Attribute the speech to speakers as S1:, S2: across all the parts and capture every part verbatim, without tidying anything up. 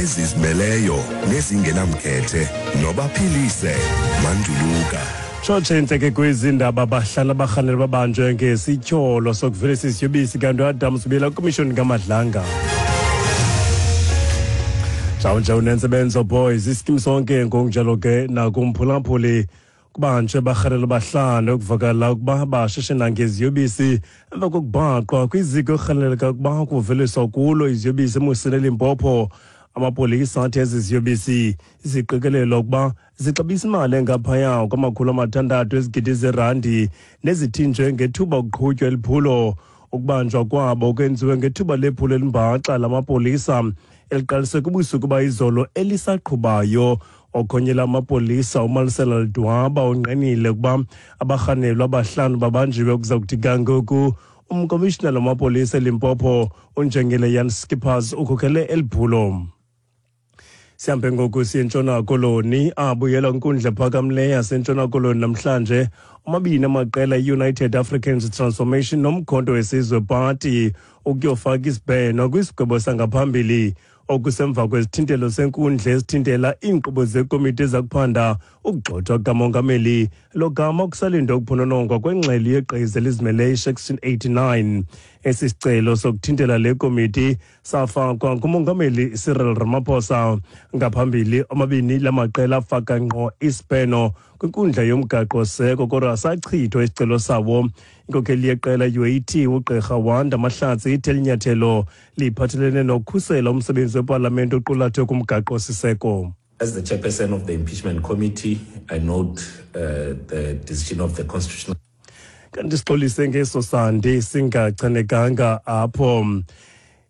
S1: Ezizimeleyo nezingenamkhethe nobaphilise Manduluka.
S2: Tshotshe intleke kwezi ndaba: bahlala barhanelwa babanjwe ngesityholo sokuvelisa isiyobisi, kanti uAdams ubuyela kwimishoni kaMadlanga. Njawunje unentsebenzo boys iskim sonke. Ngokunjalo ke nakumphulaphuli, kubanjwe barhanelwa bahlanu ekuvakala ukuba bashishina ngeziyobisi emva kokubhaqwa kwiziko ekurhaneleka ukuba kuveliswa kulo iziyobisi eMusina, eLimpopo. Amapolisa athi ezi ziyobisi ziqikelelwa ukuba zixabisa imali engaphaya kwamakhulu amathandathu ezigidi zerandi nezithinjwe ngethuba kuqhutywa eliphulo. Ukubanjwa kwabo kwenziwe ngethuba lephulo elimbaxa lamapolisa eliqalise kubusuku bayizolo elisaqhubayo. Okhonyela amapolisa uMalesela Ledwaba ungqinile ukuba abarhanelwa abahlanu babanjiwe. Kuza kuthi kangoku umkomishinala wamapolisa eLimpopo unjengele Jan Skippers ukhokhele eliphulo. Sihambe ngoku siye eNtshona Koloni. Abuyela kwinkundla ephakamileyo yaseNtshona Koloni namhlanje omabini amaqela, i-United Africans Transformation noMkhonto weSizwe Party, ukuyofaka isibheno kwisigwebo sangaphambili, okusemva kwezithintelo senkundla esithintela iinkqubo zekomiti ezakuphanda ukugxothwa kukamongameli, logama kusalindwe ukuphononongwa kwengxelo yegqiza elizimeleyo i-Section eighty-nine. Esi sicelo sokuthintela le komiti safakwa ngumongameli Cyril Ramaphosa. Ngaphambili omabini la maqela afaka ngqo isibheno kwinkundla yomgaqo-seko, kodwa sachithwa isicelo sawo. Inkokheli yeqela U A T ugqirha Wanda Mahlatsi ithi eli nyathelo liphathelene nokukhusela umsebenzi wepalamente oqulathwe kumgaqo-siseko.
S3: As the chairperson of the impeachment committee, I note uh, the decision of the Constitutional
S2: Kanti sixolise ngeso sandi singachanekanga apho.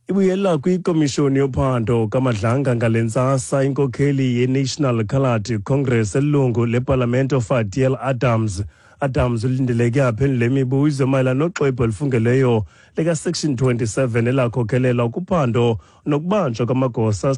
S2: Ibuyela kwikomishoni yophando kaMadlanga ngale ntsasa inkokheli ye-National Coloured Congress, elilungu lepalamente uFadiel Adams. Adams ulindeleke aphendule imibuzo mayelana noxwebhu olufungeleyo lika-Section twenty-seven elakhokhelela kuphando nokubanjwa kwamagosa.